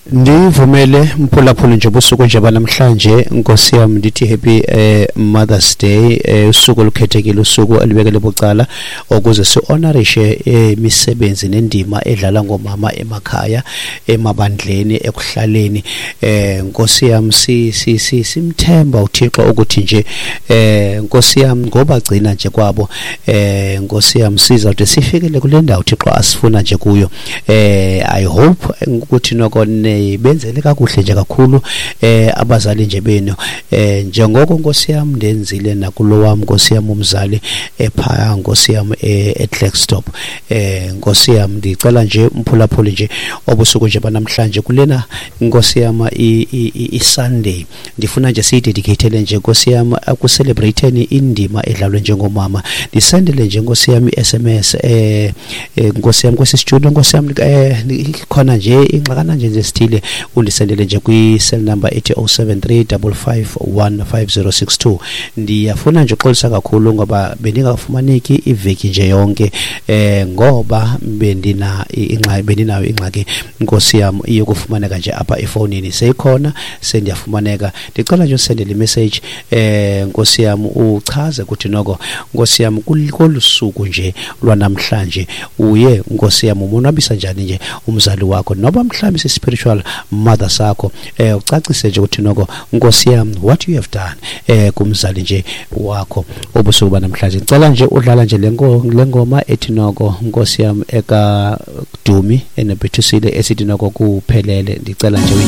Ndivumele mphulaphuli nje busuku nje banamhlanje, nkosi yam, ndithi happy Mother's Day, usuku olukhethekile, usuku elibekele bucala ukuze si-honorishe imisebenzi nendima edlala ngoomama emakhaya, emabandleni, ekuhlaleni. Nkosi yam, si, si, si, simthemba uThixo ukuthi nje nkosi yam ngobagcina nje kwabo, nkosi yam, sizawude sifikele kule ndawo uThixo asifuna nje kuyo. I hope ukuthi noko nibenzele kakuhle nje kakhulu abazali nje benu, njengoko nkosi yam ndenzile nakulo wam, nkosi yam, umzali ephaya, nkosi yam, eKlerksdorp. Nkosi yam, ndicela nje umphulaphuli nje obusuku nje banamhlanje kulena, nkosi yam, i-Sunday, ndifuna nje siyidedicatele nje, nkosi yam, ekucelebrate-eni indima edlalwe njengomama. Ndisendele nje, nkosi yam, i-SMS, nkosi yam, kwesi studio, nkosi yam, khona nje ingxakana nje nje sithile, undisendele nje kwi-cell number ethi 073 551 5062. Ndiyafuna nje uxolisa kakhulu ngoba bendingafumaneki iveki nje yonke, ngoba bendina ingxaki, bendinayo ingxaki, nkosi yam, iyokufumaneka nje apha efowunini. Seyikhona, sendiyafumaneka. Ndicela nje usendele imessage, nkosi yam, uchaze ukuthi noko, nkosi yam, kolu suku nje lwanamhlanje uye, nkosi yam, umonwabisa njani nje umzali wakho, noba mhlawumbi si-spiritual mother sakho, ucacise nje ukuthi noko, nkosi yam, what you have done kumzali nje wakho obusuku banamhlanje. Ndicela nje udlala nje le ngoma ethi noko, nkosi yam, ekaDumi enebhethusile, esithi noko kuphelele. Ndicela nje.